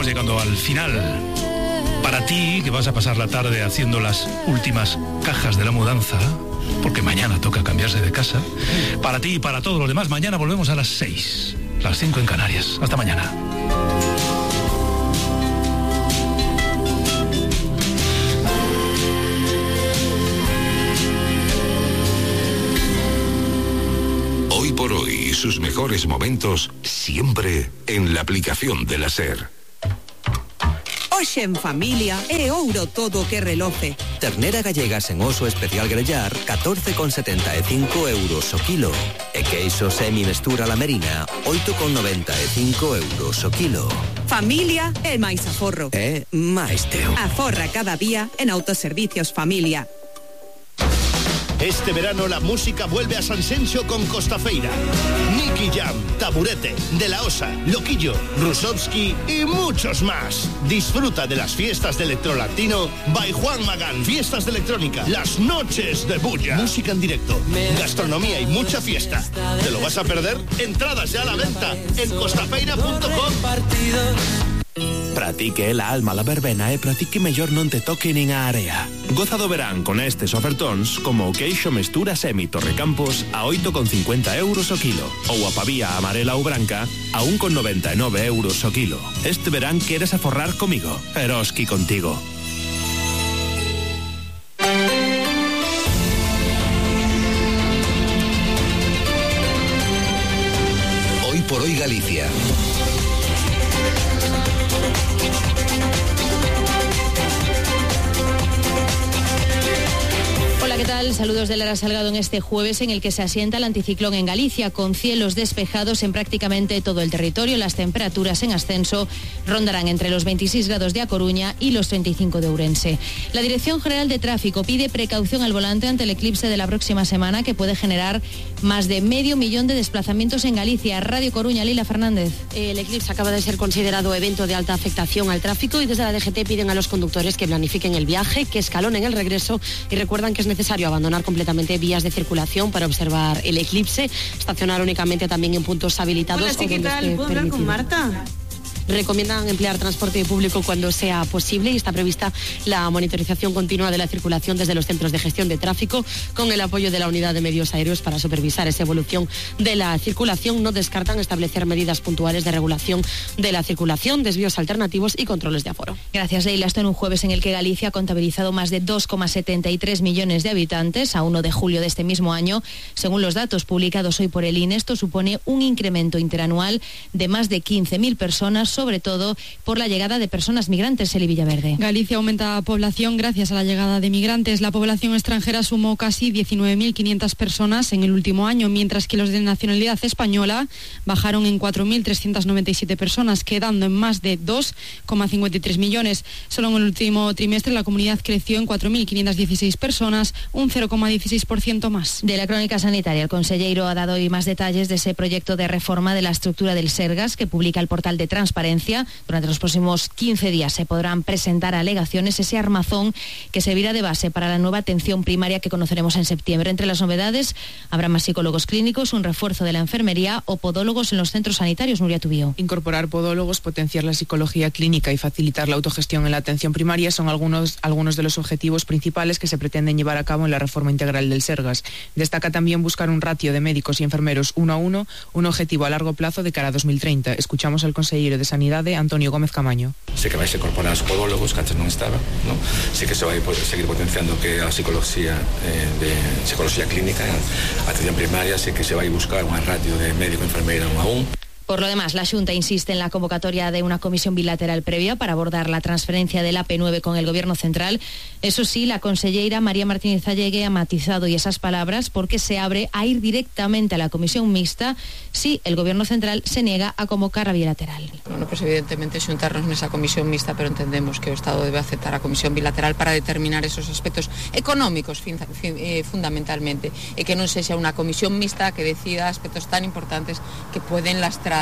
estamos llegando al final. Para ti, que vas a pasar la tarde haciendo las últimas cajas de la mudanza, porque mañana toca cambiarse de casa. Para ti y para todos los demás, mañana volvemos a las 6, las 5 en Canarias. Hasta mañana. Hoy por hoy, sus mejores momentos siempre en la aplicación de la SER. Hoxe en familia é ouro todo que reloce. Ternera gallega sen oso especial grellar, 14,75 euros o kilo. E queixo semi-mestura la merina, 8,95 euros o kilo. Familia é máis aforro. É máis teu. Aforra cada día en Autoservicios Familia. Este verano la música vuelve a San Senxo con Costafeira. Nicky Jam, Taburete, De La Osa, Loquillo, Rusovsky y muchos más. Disfruta de las fiestas de Electrolatino by Juan Magán. Fiestas de electrónica, las noches de bulla. Música en directo, gastronomía y mucha fiesta. ¿Te lo vas a perder? Entradas ya a la venta en costafeira.com. Pratique la alma la verbena e pratique mellor non te toque nin a area. Goza do verán con estes ofertóns como o queixo mestura semi Torrecampos a 8,50 euros o kilo ou a pavía amarela ou branca a 1,99 euros o kilo. Este verán queres aforrar comigo, Eroski contigo. Hoy por hoy Galicia. Hola, ¿qué tal? Saludos de Lara Salgado en este jueves en el que se asienta el anticiclón en Galicia, con cielos despejados en prácticamente todo el territorio. Las temperaturas en ascenso rondarán entre los 26 grados de A Coruña y los 35 de Ourense. La Dirección General de Tráfico pide precaución al volante ante el eclipse de la próxima semana, que puede generar más de 500.000 de desplazamientos en Galicia. Radio Coruña, Lila Fernández. El eclipse acaba de ser considerado evento de alta afectación al tráfico y desde la DGT piden a los conductores que planifiquen el viaje, que escalonen el regreso y recuerdan que es necesario abandonar completamente vías de circulación para observar el eclipse, estacionar únicamente también en puntos habilitados. Hola, sí, ¿qué tal? ¿Puedo hablar con Marta? Recomiendan emplear transporte público cuando sea posible y está prevista la monitorización continua de la circulación desde los centros de gestión de tráfico con el apoyo de la Unidad de Medios Aéreos para supervisar esa evolución de la circulación. No descartan establecer medidas puntuales de regulación de la circulación, desvíos alternativos y controles de aforo. Gracias, Leila. Esto en un jueves en el que Galicia ha contabilizado más de 2,73 millones de habitantes a 1 de julio de este mismo año. Según los datos publicados hoy por el INE, esto supone un incremento interanual de más de 15.000 personas, sobre todo por la llegada de personas migrantes. Eli Villaverde. Galicia aumenta población gracias a la llegada de migrantes. La población extranjera sumó casi 19.500 personas en el último año, mientras que los de nacionalidad española bajaron en 4.397 personas, quedando en más de 2,53 millones. Solo en el último trimestre la comunidad creció en 4.516 personas, un 0,16% más. De la crónica sanitaria, el conselleiro ha dado hoy más detalles de ese proyecto de reforma de la estructura del Sergas que publica el portal de Transparencia. Durante los próximos 15 días se podrán presentar alegaciones, ese armazón que servirá de base para la nueva atención primaria que conoceremos en septiembre. Entre las novedades habrá más psicólogos clínicos, un refuerzo de la enfermería o podólogos en los centros sanitarios. Nuria Tubío. Incorporar podólogos, potenciar la psicología clínica y facilitar la autogestión en la atención primaria son algunos de los objetivos principales que se pretenden llevar a cabo en la reforma integral del Sergas. Destaca también buscar un ratio de médicos y enfermeros 1 a 1, un objetivo a largo plazo de cara a 2030. Escuchamos al consejero de Sanidade, Antonio Gómez Camaño. Sí que vais a incorporar os podólogos que antes non estaba, ¿no? Sí que se vai seguir potenciando que a psicología de psicología clínica, atención primaria, sí que se vai buscar unha ratio de médico e enfermeira 1 a 1. Por lo demás, la Xunta insiste en la convocatoria de una comisión bilateral previa para abordar la transferencia del AP9 con el Gobierno Central. Eso sí, la conselleira María Martínez Allegue ha matizado y esas palabras porque se abre a ir directamente a la comisión mixta si el Gobierno Central se niega a convocar a bilateral. Bueno, pues evidentemente xuntarnos nesa comisión mixta, pero entendemos que o Estado debe aceptar a comisión bilateral para determinar esos aspectos económicos fundamentalmente, e que non sexa unha comisión mixta que decida aspectos tan importantes que pueden lastrar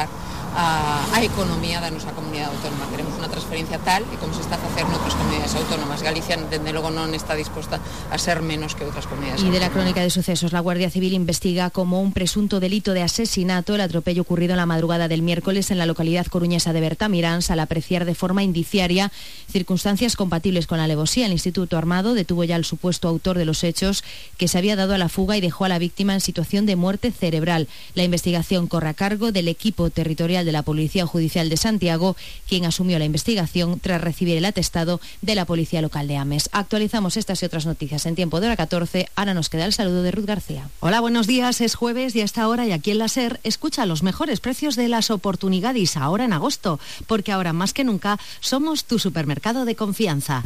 a economía da nosa comunidade autónoma. Queremos unha transferencia tal e como se está a facer noutras comunidades autónomas. Galicia, dende logo, non está disposta a ser menos que outras comunidades autónomas. Y de la crónica de sucesos, la Guardia Civil investiga como un presunto delito de asesinato el atropello ocurrido en la madrugada del miércoles en la localidad coruñesa de Bertamiráns al apreciar de forma indiciaria circunstancias compatibles con la alevosía. El Instituto Armado detuvo ya al supuesto autor de los hechos, que se había dado a la fuga y dejó a la víctima en situación de muerte cerebral. La investigación corre a cargo del equipo territorial de la Policía Judicial de Santiago, quien asumió la investigación tras recibir el atestado de la Policía Local de Ames. Actualizamos estas y otras noticias en tiempo de hora 14. Ahora nos queda el saludo de Ruth García. Hola, buenos días. Es jueves y a esta hora y aquí en la SER escucha los mejores precios de las oportunidades ahora en agosto, porque ahora más que nunca somos tu supermercado de confianza.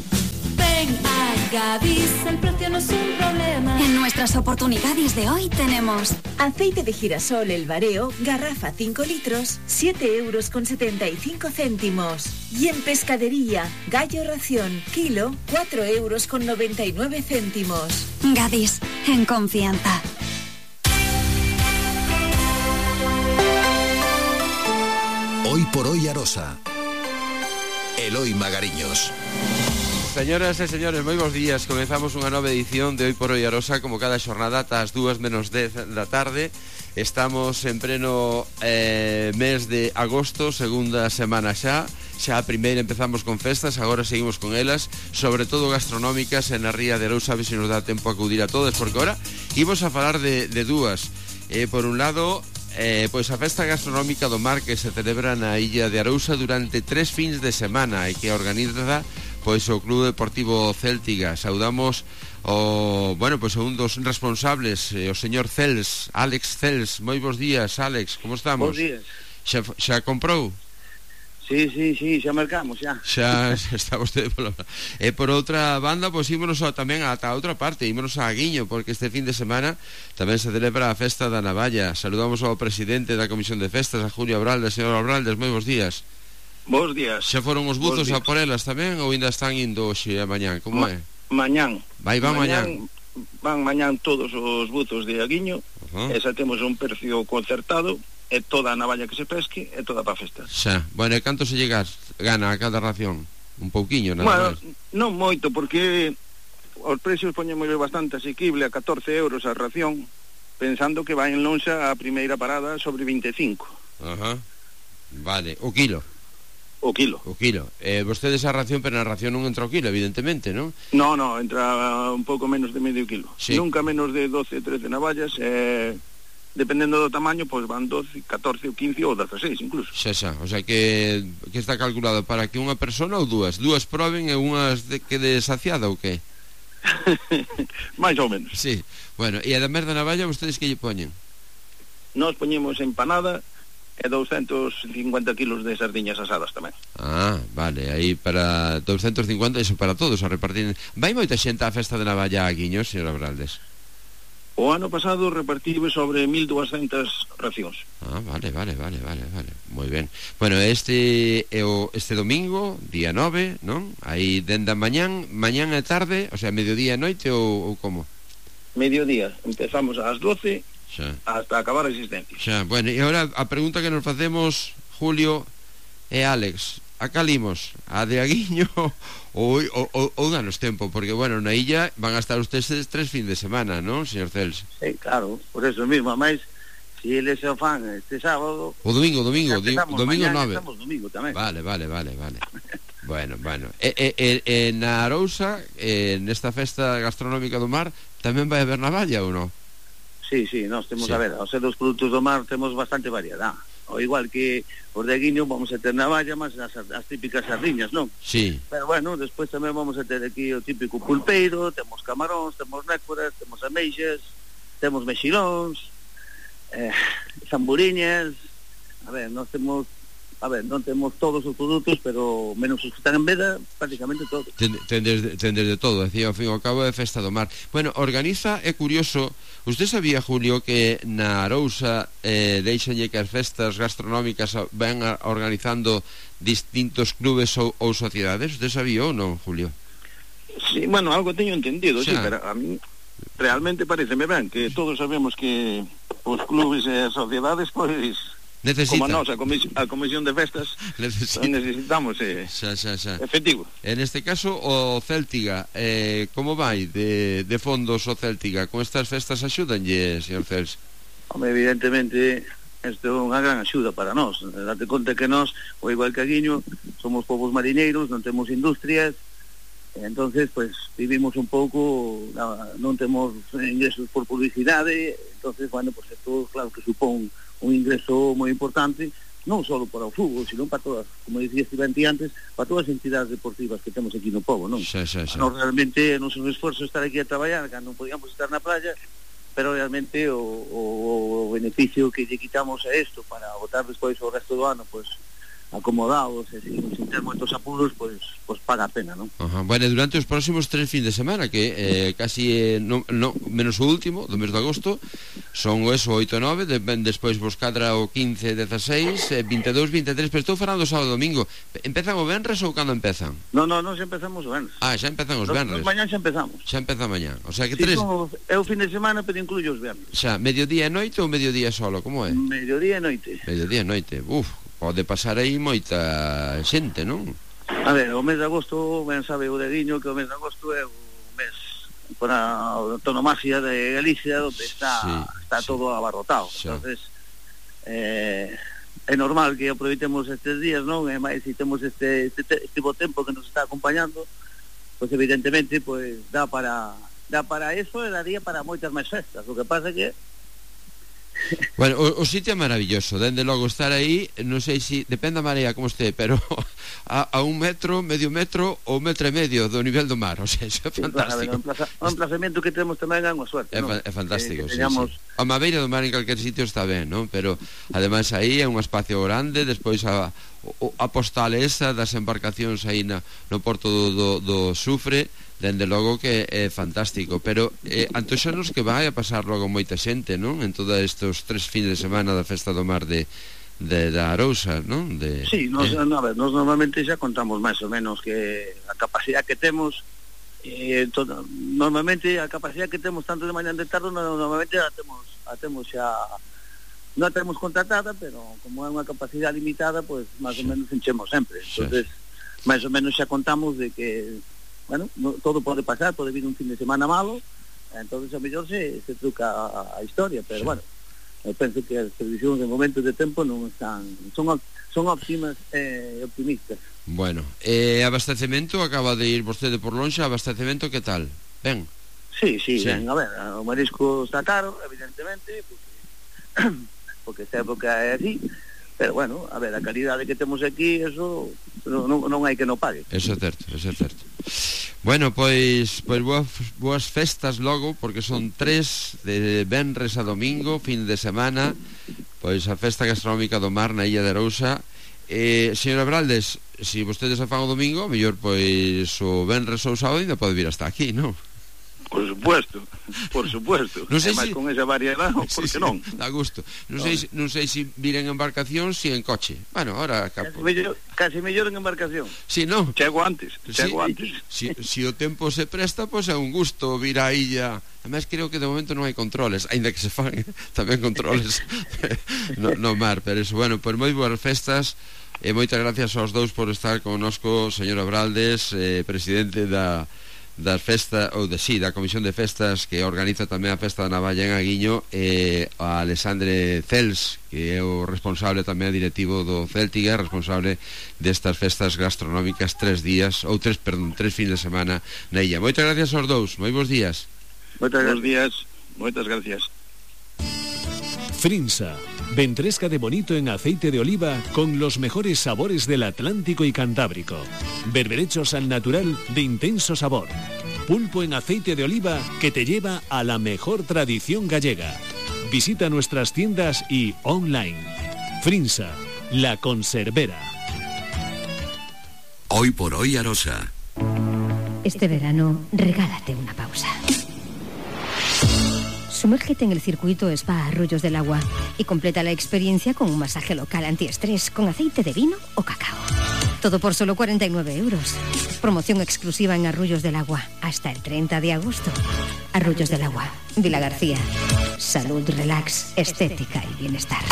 Ven a Gadis, el precio no es un problema. En nuestras oportunidades de hoy tenemos aceite de girasol El Bareo, garrafa 5 litros, 7,75 €. Y en pescadería, gallo ración, kilo, 4,99 €. Gadis, en confianza. Hoy por hoy Arosa. Eloi Magariños. Señoras e señores, moi bons días. Comezamos unha nova edición de Hoy por Hoy Arosa, como cada xornada ás 2:10 da tarde. Estamos en pleno mes de agosto, segunda semana xa a primeira empezamos con festas, agora seguimos con elas, sobre todo gastronómicas en a Ría de Arousa. A ver se nos dá tempo a acudir a todas, porque agora imos a falar de dúas. Por un lado, pois a festa gastronómica do mar, que se celebra na Illa de Arousa durante 3 fins de semana e que organiza pois o Club Deportivo Céltiga. Saudamos a un dos responsables, o señor Cels, Alex Cels. Moi bons días, Alex, como estamos? Bons días. Xa comprou? Sí, xa marcamos, xa. Xa está vostede pola... E por outra banda, pois ímonos tamén ata a outra parte, ímonos a Aguiño, porque este fin de semana tamén se celebra a festa da Navalla. Saludamos ao presidente da Comisión de Festas, a Julio Abraldes. Señor Abraldes, moi bons días. Bos días. Xa foron os buzos a por elas tamén, ou ainda están indo hoxe a mañán? Como é? Mañán. Van mañán. Van mañán todos os buzos de Aguiño. E xa temos un precio concertado, e toda a navalla que se pesque, e toda para festas. Xa, bueno, e canto se gana a cada ración? Un pouquiño, nada máis? Non moito, porque os precios poñemos bastante asequible, a 14 € a ración, pensando que vai en lonxa a primeira parada sobre 25. Vale, o kilo. O kilo. Vostedes a ración, pero na ración non entra o kilo, evidentemente, non? No, entra un pouco menos de medio kilo. Sí. Nunca menos de 12, 13 navallas, dependendo do tamaño, pois van 12, 14 ou 15 ou 16 incluso. Xa, o sea que está calculado para que unha persona ou dúas proben e unhas quede saciada ou que? Mais ou menos. Sí, bueno, e ademais da navalla, vostedes que lle poñen? Nós poñemos empanada e 250 kilos de sardiñas asadas tamén. Vale, aí para 250, iso para todos a repartir. Vai moita xente á festa de Navalla a Aguiño, señor Abraldes? O ano pasado repartive sobre 1.200 racións. Vale, moi ben. Bueno, este domingo, día 9, non? Aí dende a mañán e tarde, o sea, mediodía e noite ou como? Mediodía, empezamos ás 12 hasta acabar a existencia. Bueno, e agora a pregunta que nos facemos, Julio e Alex, a calimos, a de Aguiño ou danos tempo, porque, bueno, na illa van a estar ustedes 3 fin de semana, non, señor Cels? Sí, claro, por eso mismo, máis, si eles se fan este sábado... O domingo 9. Estamos domingo tamén. Vale. Bueno. E na Arousa, nesta festa gastronómica do mar, tamén vai haber navalla ou non? Sí, nós temos, a ver, os dos produtos do mar temos bastante variedade. O igual que os de Aguiño vamos a ter navalla, mas as típicas sardiñas, non? Sí. Pero bueno, despois tamén vamos a ter aquí o típico pulpeiro, temos camaróns, temos nécoras, temos ameixas, temos mexilóns, zamburiñas. A ver, non temos todos os produtos, pero menos os que están en veda, prácticamente todos. Tendes de todo, decía, ao fin e ao cabo é festa do mar. Bueno, organiza, é curioso, usted sabía, Julio, que na Arousa deixanlle que as festas gastronómicas van organizando distintos clubes ou sociedades? Usted sabía ou non, Julio? Sí, bueno, algo teño entendido, sí, pero a mí realmente pareceme ben que todos sabemos que os clubes e as sociedades, pois... Como nós, a Comisión de Festas, necesitamos efectivo. En este caso, o Céltiga, como vai de fondos o Céltiga? Con estas festas axúdanlle, señor Cels? Evidentemente, isto é unha gran axuda para nós. Date conta que nós, ou igual que a Guiño, somos povos mariñeiros, non temos industrias, entonces pues vivimos un pouco, non temos ingresos por publicidade, entonces bueno, pues isto claro que supón un ingreso moi importante, non só para o fútbol, sino para todas, como dicía Estivanti antes, para todas as entidades deportivas que temos aquí no pobo, non? Sí. Nós realmente non son un esforzo estar aquí a traballar, que non podíamos estar na playa, pero realmente o beneficio que lle quitamos a isto para botar despois o resto do ano, pues acomodados e sin ter moitos apuros, pues paga a pena, non? Bueno, durante os próximos 3 fin de semana, que casi menos o último, do mes de agosto, son o 8 e 9, despois vos cadra o 15, 16, 22, 23, pero estou falando sábado e domingo. Empezan o venres ou cando empezan? Non, xa empezamos o venres. Xa empezan os venres. Mañán xa empezamos. Xa empeza mañán. O sea que é o fin de semana, pero incluye os venres. Xa, mediodía e noite ou mediodía solo, como é? Mediodía e noite. Mediodía e noite, pode pasar aí moita xente, non? A ver, o mes de agosto, ben sabe o de Guiño que o mes de agosto é o mes para a autonomasia de Galicia, onde está todo abarrotado. Entonces, é normal que aproveitemos estes días, non? E máis se temos este bo tempo que nos está acompañando, pois evidentemente pois dá para eso e daría para moitas máis festas. O que pasa que bueno, o sitio é maravilloso, dende logo estar aí, non sei se depende da marea como este, pero a 1 metro, medio metro ou 1,5 metro do nivel do mar, o sea, iso é fantástico. O emplazamento que temos tamén é unha suerte, non? É fantástico, sí. A mabeira do mar en calquer sitio está ben, non? Pero ademais aí é un espacio grande, despois a postal esa das embarcacións aí no porto do Sufre, dende logo que é fantástico, pero antoxanos que vai a pasar logo moita xente, non? En todos estes 3 fines de semana da Festa do Mar da Arousa, non? Sí, nos normalmente xa contamos máis ou menos que a capacidade que temos, normalmente a capacidade que temos tanto de mañá de tarde, normalmente a temos xa, non a temos contratada, pero como é unha capacidade limitada, pues máis ou menos enchemos sempre. Entonces, máis ou menos xa contamos de que bueno, todo pode pasar, pode vir un fin de semana malo, entonces a mellor se truca a historia, pero bueno, eu penso que as previsións de momentos de tempo non están, son óptimas e optimistas. Bueno, abastecemento, acaba de ir vostede por lonxe, abastecemento que tal? Ben? Sí, ben, a ver, o marisco está caro, evidentemente, porque esta época é así, pero bueno, a ver, a calidade que temos aquí, eso non hai que non pague. Eso é certo. Bueno, pois boas festas logo, porque son 3 de venres a domingo, fin de semana, pois a festa gastronómica do mar na Illa de Arousa. Señora Braldes, se vostedes a fan o domingo, mellor pois o venres ou sábado ainda pode vir hasta aquí, non? Por supuesto. Non sei se con esa variedade, por que non? Dá gusto. Non sei se vir en embarcación, si en coche. Bueno, ahora casi mellor en embarcación. Si, non? Chego antes. Si o tempo se presta, pois é un gusto vir á illa. Ademais, creo que de momento non hai controles, aínda que se fan tamén controles no mar, pero eso, bueno, pois moi boas festas. E moitas gracias aos dous por estar connosco, señora Braldes, presidente da festa, da Comisión de Festas que organiza tamén a Festa da Navalla en Aguiño, e a Alexandre Cels, que é o responsable tamén directivo do Céltiga, responsable destas festas gastronómicas 3 días, ou 3 fins de semana na illa. Moitas gracias aos dous, moi bons días. Moitas gracias. Frinsa, ventresca de bonito en aceite de oliva con los mejores sabores del Atlántico y Cantábrico. Berberechos al natural de intenso sabor. Pulpo en aceite de oliva que te lleva a la mejor tradición gallega. Visita nuestras tiendas y online. Frinsa, la conservera. Hoy por hoy Arosa. Este verano, regálate una pausa. Sumérgete en el circuito Spa Arroyos del Agua y completa la experiencia con un masaje local antiestrés con aceite de vino o cacao. Todo por solo 49 euros. Promoción exclusiva en Arroyos del Agua hasta el 30 de agosto. Arroyos del Agua, Vila García. Salud, relax, estética y bienestar.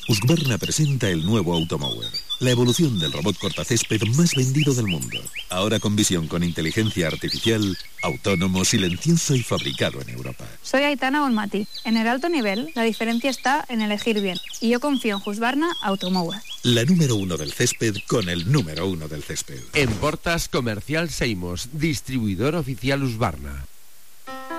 Husqvarna presenta el nuevo Automower. la evolución del robot cortacésped más vendido del mundo. Ahora con visión con inteligencia artificial, autónomo, silencioso y fabricado en Europa. Soy Aitana Bonmati. En el alto nivel, la diferencia está en elegir bien. Y yo confío en Husqvarna Automower. La número 1 del césped con el número 1 del césped. En Portas Comercial Seimos, distribuidor oficial Husqvarna.